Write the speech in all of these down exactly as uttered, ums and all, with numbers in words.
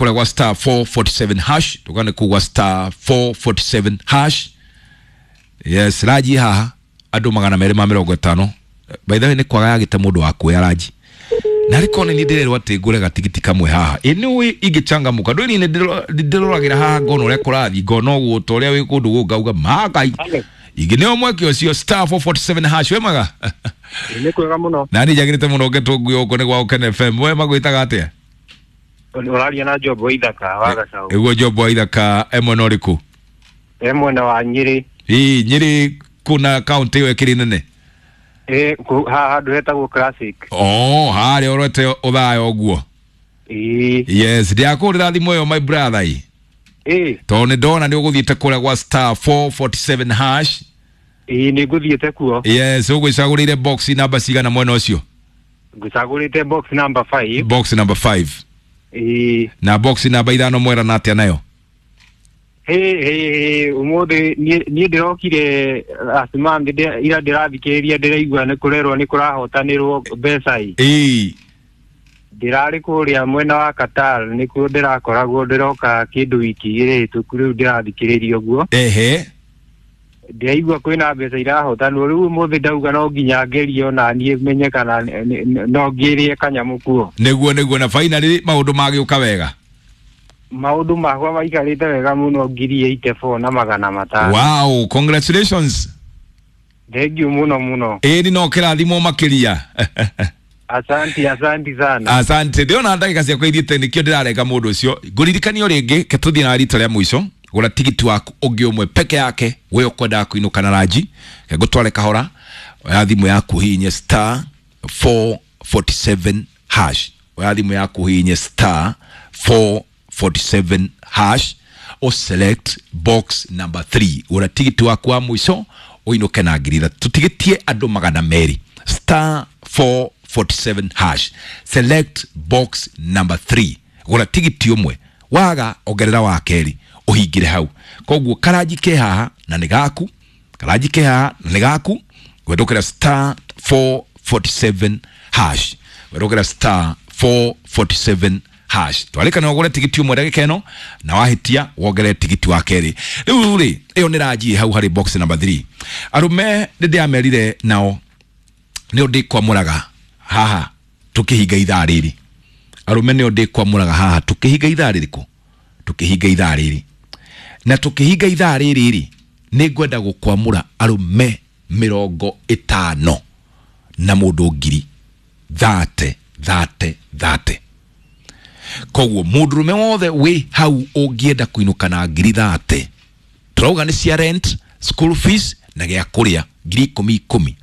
kũrĩa gwa star four forty seven hash, tũgane kũu gwa star four forty seven hash. Yes, raji haha andũ magana merĩ ma mĩrongo ĩtano. By the way, nĩ kwaga yagĩte mũndũ wa kuoya raji na rĩko nĩ niĩ ndĩrerwo atĩ ngũre gatigiti kamwe haha. Ĩ nĩ ũĩ ingĩcangamũka ndũĩ niĩ nĩ ndĩroragĩra haha ngona ũrĩa kũrathiĩ, ngona ũguo ta ũrĩa wĩ kũndũ gũkũ ngauga magai ingĩ nĩo mweke ũcio star four forty seven hash. We maga nĩ kwega mũno na niĩ njagĩrĩte mũno ngetwo nguo gũkũ nĩ gwa Ũkene F M. We magwĩtaga atĩa? Ũraria na Job wa Ithaka wa Gacau. Ĩguo Job wa Ithaka e mwena ũrĩkũ? E mwena wa Nyĩrĩ. Ĩ Nyĩrĩ kuna kaunti ĩyo ĩkĩrĩ nene? Ĩ haha handũ hetagwo Classic. Oh, harĩa ũrete ũthaya ũguo. Ĩ. Yes, ndiakũrĩra thimũ ĩyo my brother ĩ. Ĩ. Tondũ nĩ ndona nĩ ũgũthiĩte kũrĩa gwa star four forty seven hash. Ĩ nĩ ngũthiĩte kuo. Yes, ũgwĩcagũrĩire box namba cigana mwena ũcio? Ngũcagũrĩte box number five. Box number five. Ĩ. Na box namba ithano mwera na atĩa nayo? Hey hey umuthi niĩ ndĩrokire last month ira ndĩrathikĩrĩria ndĩraigua nĩ kũrerwo nĩ kũrahotanĩrwo mbeca ĩ. Ĩ. Ndĩrarĩ kũrĩa mwena wa Qatar nĩkuo ndĩrakoragwo ndĩroka kĩndũ wiki igĩrĩ hĩtũku rĩu ndĩrathikĩrĩria ũguo. Ehe. Ndĩraigua kwĩna mbeca irahotanwo rĩu ũmũthĩ ndauga no nginya ngerie ona niĩ menye kana no ngĩrĩe kanyamũ kuo. Nĩguo nĩguo na finally maũndũ magĩũka wega. Maũndũ makwa maikarĩte wega mũno ngiri eighty four na magana matano. Wow, congratulations. Thank you mũno mũno. Ĩni no kĩrathimwo makĩria. Asante, asante sana. Asante. Ndĩrona ndagĩka ciakwa ithiĩte nĩkĩo ndĩrarega mũndũ ũcio. Ngũririkanio rĩngĩ ke tũthiĩ na rita rĩa mũico. Gũra tigiti waku ũngĩ ũmwe peke yake we ũkwendaga kũinũka na ranji. Ke ngũtware kahora. Oya thimũ yaku hihinye star four forty seven hash. Oya thimũ yaku hihinye star four forty seven hash o select box number three. Gũra tigiti waku wa mũico ũinũke na ngiri ithatũ. Tũtigĩtie andũ magana merĩ. Star four forty seven hash select box number three. Gũra tigiti ũmwe waga ongerera wa kerĩ ũhingĩre hau. Koguo karanji ke haha na nĩ gaku, karanji ke haha na nĩ gaku. Gwendũkĩra star four forty seven hash. Gwendũkĩra star four forty seven hash. Twarĩkana ũgũre tigiti ũmwe ndagĩka ĩno na wahĩtia wongerere tigiti wa kerĩ. Rĩu rĩ ĩyo nĩ ranji hau harĩ box number three. Arũme nĩ ndĩamerire nao nĩo ndĩkwamũraga haha tũkĩhinga ithaa rĩrĩ. Arũme nĩo ndĩkwamũraga haha tũkĩhinga ithaa rĩrĩkũ? Tũkĩhinga ithaa rĩrĩ. Na tũkĩhinga ithaa rĩrĩ rĩ nĩ ngwenda gũkwamũra arũme mĩrongo ĩtano na mũndũ ngiri thate thate thate. Koguo mũndũrũme wothe wĩ hau ũngĩenda kũinũka na ngiri thate, tũrauga nĩ cia rent, school fees na gĩa kũrĩa ngiri ikũmi ikũmi.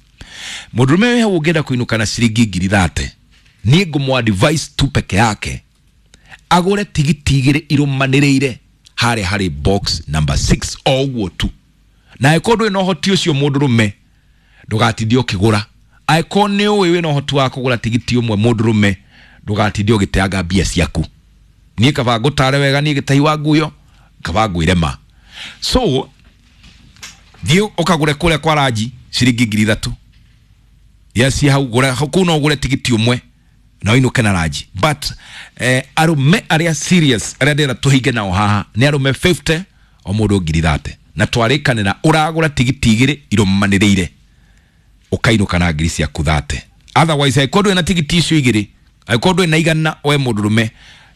Mũndũrũme wĩ hau ũngĩenda kũinũka na ciringi ngiri thate, niĩ ngũmũ advice tu peke yake agũre tigiti igĩrĩ irũmanĩrĩire harĩa harĩ box number six o ũguo tu. Na angĩkorwo ndũrĩ na ũhoti ũcio mũndũrũme ndũgatindie ũkĩgũra. Angĩkorwo nĩ ũĩ wĩna ũhoti wa kũgũra tigiti ũmwe mũndũrũme ndũgatindie ũgĩteanga mbia ciaku. Niĩ kaba ngũtare wega niĩ gĩtahi wa nguyo kaba ngwĩre ma. So thiĩ ũkagũre kũrĩa kwa ranji ciringi ngiri ithatũ. Yes, hau gũra kũu no ũgũre tigiti ũmwe na ũinũke na ranji. But eh, arũme arĩa serious arĩa ndĩrenda tũhinge nao haha nĩ arũme fifty o mũndũ ngiri thate. Na twarĩkanĩra ũragũra tigiti igĩrĩ irũmanĩrĩire ũkainũka na ngiri ciaku thate. Otherwise angĩkorwo ndũrĩ na tigiti icio igĩrĩ, angĩkorwo ndũrĩ na igana we mũndũrũme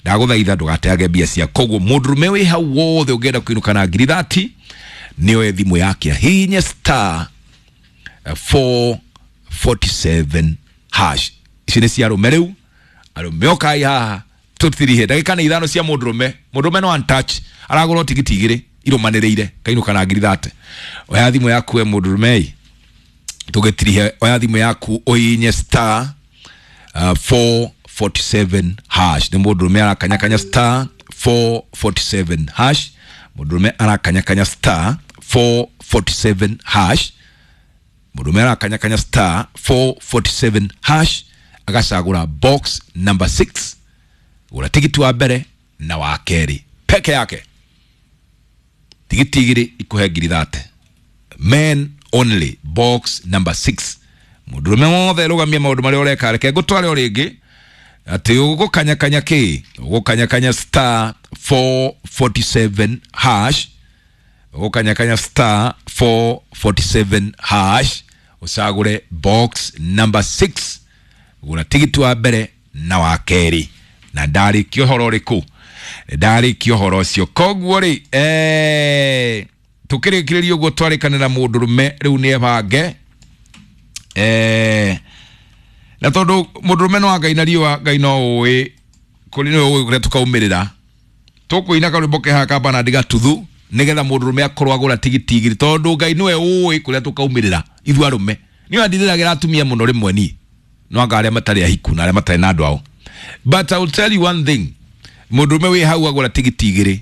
ndagũthaitha ndũgateage mbia ciaku. Koguo mũndũrũme wĩ hau wothe ũngĩenda kũinũka na ngiri thati nĩoe thimũ yake ahihinye star four forty seven hash. Ici nĩ cia arũme rĩu. Arũme ũkai haha tũtirihe ndagĩka nĩ ithano cia mũndũrũme. Mũndũrũme no untouch aragũra tigiti igĩrĩ irũmanĩrĩire kainũka na ngiri thate. Oya thimũ yaku we mũndũrũme ĩ tũgĩtirihe. Oya thimũ yaku ũhihinye star uh, four forty seven hash. Nĩ mũndũrũme arakanyakanya star four forty seven hash. Mũndũrũme arakanyakanya star four forty seven hash. Mũndũrũme arakanyakanya star four forty seven hash agacagũra box number six. Gũra tigiti wa mbere na wa kerĩ peke yake. Tigiti igĩrĩ ikũhe ngiri thate. Men only box number six. Mũndũrũme wothe rũgamia maũndũ marĩa ũreka. Reke ngũtware o rĩngĩ. Atĩ ũgũkanyakanya kĩ? Ũgũkanyakanya star four forty-seven hash. Ũgũkanyakanya star four forty-seven hash ũcagũre box number six, gũra tigiti wa mbere na wa kerĩ. Na ndarĩkia ũhoro ũrĩkũ? Ndarĩkia ũhoro ũcio. Koguo rĩ, eh, tũkĩrĩkĩrĩria ũguo twarĩkanĩra mũndũrũme rĩu nĩ ebange. Eh, na tondũ mũndũrũme no Ngai na riũa, Ngai no ũĩ kũrĩ nĩwe ũĩ kũrĩa tũkaumĩrĩra. Tũkũina karwĩmbo ke haha ka Bernard Gatuthu nĩgetha mũndũrũme akorwo agũra tigiti igĩrĩ, tondũ Ngai nĩwe ũĩ kũrĩa tũkaumĩrĩra ithuĩ arũme. Niĩ ndithĩragĩra atumia mũno rĩmwe niĩ, no anga arĩa matarĩ ahiku na arĩa matarĩ na andũ ao. But I will tell you one thing, mũndũrũme wĩ hau agũra tigiti igĩrĩ,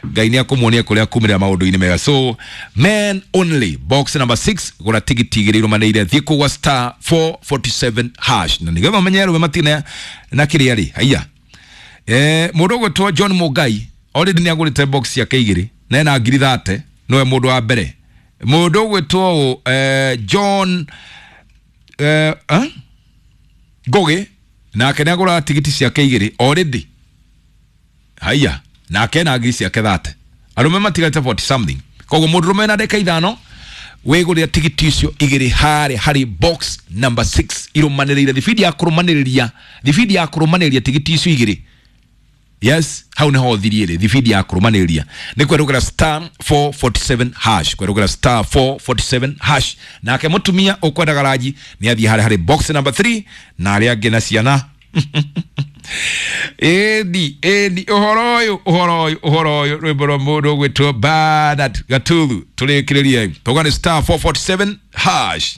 Ngai nĩ akũmuonia kũrĩa kumĩrĩra maũndũ-inĩ mega. So men only, box number six, gũra tigiti igĩrĩ irũmanĩrĩire, thiĩ kũgwa star four forty-seven hash. Na nĩgetha ũmenye arũme matirĩ na kĩrĩa rĩ, haiya. Eh, mũndũ ũgwĩtwo John Mũngai already nĩ agũrĩte box ciake igĩrĩ na ena ngiri thate, nĩwe mũndũ wa mbere. Mũndũ ũgwĩtwo eh, John eh, eh? Ngũgĩ nake nĩ agũra tigiti ciake igĩrĩ already, haiya, nake ena ngiri ciake thate. Arũme matigarĩte forty something. Koguo mũndũrũme na ndagĩka ithano wĩgũrĩra tigiti icio igĩrĩ harĩa harĩ box number six irũmanĩrĩire, thibindi ya kũrũmanĩrĩria, thibindi ya kũrũmanĩrĩria tigiti icio igĩrĩ. Yes, hau niho thirie rĩ, thibindi ya kũrũmanĩrĩria nĩ kwerũgĩra star four forty-seven hash, kwerũgĩra star four forty-seven hash. Nake mũtumia ũkwendaga ranji nĩ athiĩ harĩa harĩ box number three, na arĩa angĩ na ciana. Ĩni, ĩni, ũhoro ũyũ, ũhoro ũyũ, ũhoro ũyũ, rwĩmbo rwa mũndũ ũgwĩtwo Bernard Gatuthu. Tũrĩkĩrĩrie tauga nĩ star four forty-seven hash.